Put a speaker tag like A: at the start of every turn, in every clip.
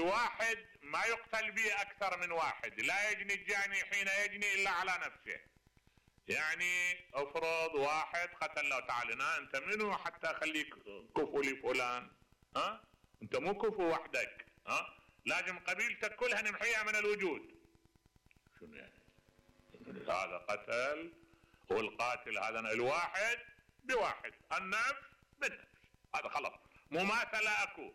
A: الواحد ما يقتل به اكثر من واحد، لا يجني الجاني حين يجني الا على نفسه. يعني افرض واحد قتل له، تعال هنا انت منو حتى اخليك كفو لفلان؟ انت مو كفو وحدك، لازم قبيلتك كلها نمحيها من الوجود. شنو يعني؟ هذا قتل، والقاتل هذا الواحد بواحد، النفس بالنفس، هذا خلص، مماثلة اكو.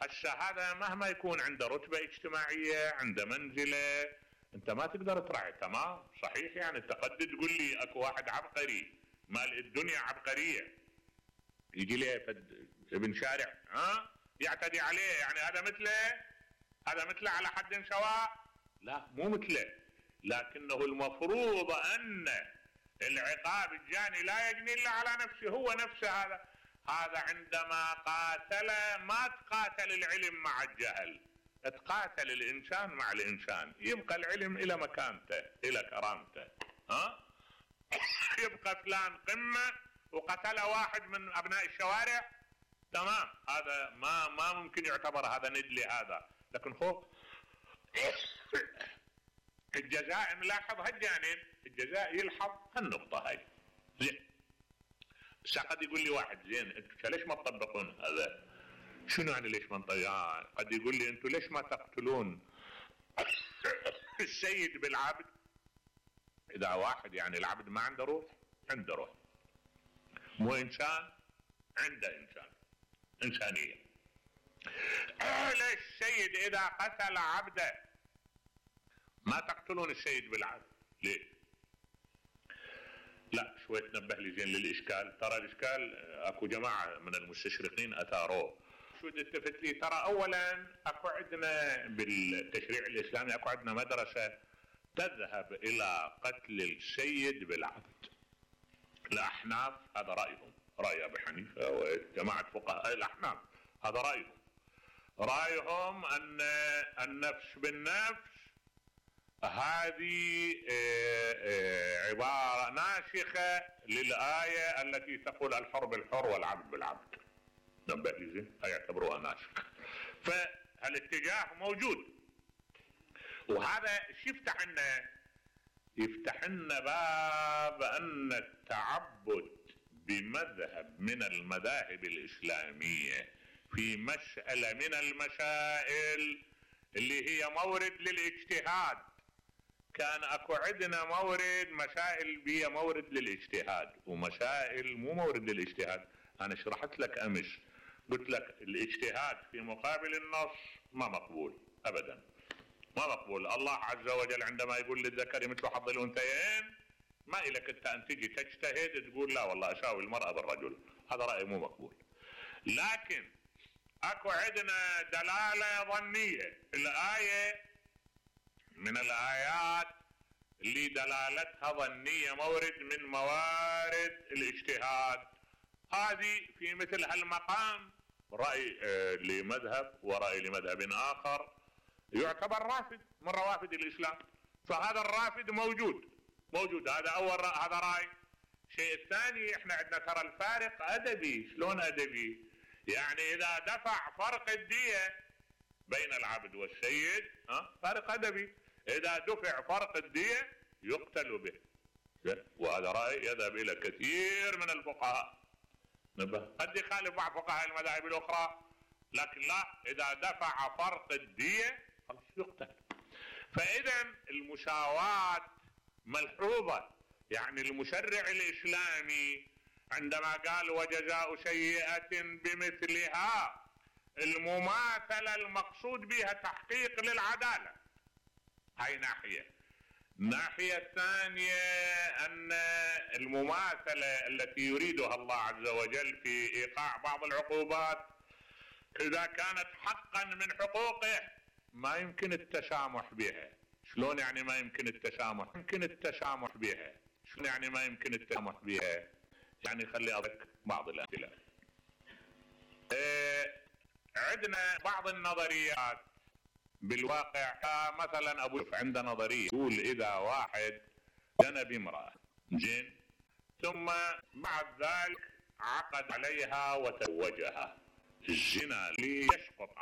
A: الشهادة مهما يكون عنده رتبة اجتماعية، عنده منزلة، انت ما تقدر تراعي. تمام صحيح، يعني انت قد تقول لي اكو واحد عبقري مال الدنيا عبقرية، يجي لي ابن شارع يعتدي عليه، يعني هذا مثله على حد سواء؟ لا مو مثله، لكنه المفروض ان العقاب الجاني لا يجني الا على نفسه، هو نفسه. هذا عندما قاتل ما تقاتل العلم مع الجهل، تقاتل الانسان مع الانسان، يبقى العلم الى مكانته الى كرامته. يبقى فلان قمة وقتل واحد من ابناء الشوارع، تمام، هذا ما ممكن يعتبر هذا ندلي هذا. لكن خوف الجزاء نلاحظ هالجانب، الجزاء يلحظ هالنقطة هاي. زين، قد يقول لي واحد زين انتم ليش ما تطبقون هذا؟ شنو يعني ليش ما نطبق؟ قد يقول لي انتم ليش ما تقتلون السيد بالعبد؟ اذا واحد يعني العبد ما عنده روح، عنده روح، مو انسان، عنده انسانية. ليش السيد اذا قتل عبده ما تقتلون السيد بالعبد؟ ليه؟ لا شوي تنبه لي زين للاشكال. ترى الاشكال اكو جماعة من المستشرقين اثاروه. شو التفت لي؟ ترى اولا اكو عندنا بالتشريع الاسلامي اكو عندنا مدرسة تذهب الى قتل السيد بالعبد. الاحناف هذا رايهم، راي ابي حنيفه وجماعه فقهاء الاحناف هذا رايهم ان النفس بالنفس هذه عباره ناسخه للايه التي تقول الحر بالحر والعبد بالعبد. نبه لي زين، يعتبروها ناسخه. فالاتجاه موجود، وهذا شو يفتح لنا باب ان التعبد بمذهب من المذاهب الاسلاميه في مساله من المسائل اللي هي مورد للاجتهاد. كان اكو عندنا مسائل بيها مورد للاجتهاد ومسائل مو مورد للاجتهاد. انا شرحت لك امس، قلت لك الاجتهاد في مقابل النص ما مقبول ابدا، ما مقبول. الله عز وجل عندما يقول للذكر مثل حظ الانثيين، ما إلك انت ان تجي تجتهد تقول لا والله اساوي المرأة بالرجل، هذا رأي مو مقبول. لكن اكو عندنا دلالة ظنية، الآية من الآيات اللي دلالتها ظنية، مورد من موارد الاجتهاد. هذه في مثل هالمقام رأي لمذهب ورأي لمذهب آخر يعتبر رافد من روافد الإسلام، فهذا الرافد موجود. هذا أول هذا رأي. الشيء الثاني، احنا عندنا ترى الفارق أدبي. شلون أدبي؟ يعني إذا دفع فرق الدية بين العبد والسيد فارق أدبي، إذا دفع فرق الدية يقتل به. وهذا رأي يذهب إلى كثير من الفقهاء، قد يخالف بعض فقهاء المذاهب الأخرى، لكن لا، إذا دفع فرق الدية خلاص يقتل. فإذا المساواة ملحوظة. يعني المشرع الإسلامي عندما قال وجزاء سيئة بمثلها، المماثلة المقصود بها تحقيق للعدالة، هاي ناحية. الناحية الثانية أن المماثلة التي يريدها الله عز وجل في إيقاع بعض العقوبات إذا كانت حقا من حقوقه ما يمكن التسامح بها. شلون يعني ما يمكن التسامح؟ يمكن التسامح بها. شلون يعني ما يمكن التسامح بها؟ يعني خلي أضرب بعض الأمثلة. عندنا بعض النظريات بالواقع، مثلا أبو يوسف عنده نظرية يقول إذا واحد زنى بامرأة زين، ثم بعد ذلك عقد عليها وتزوجها، الزنا ليسقط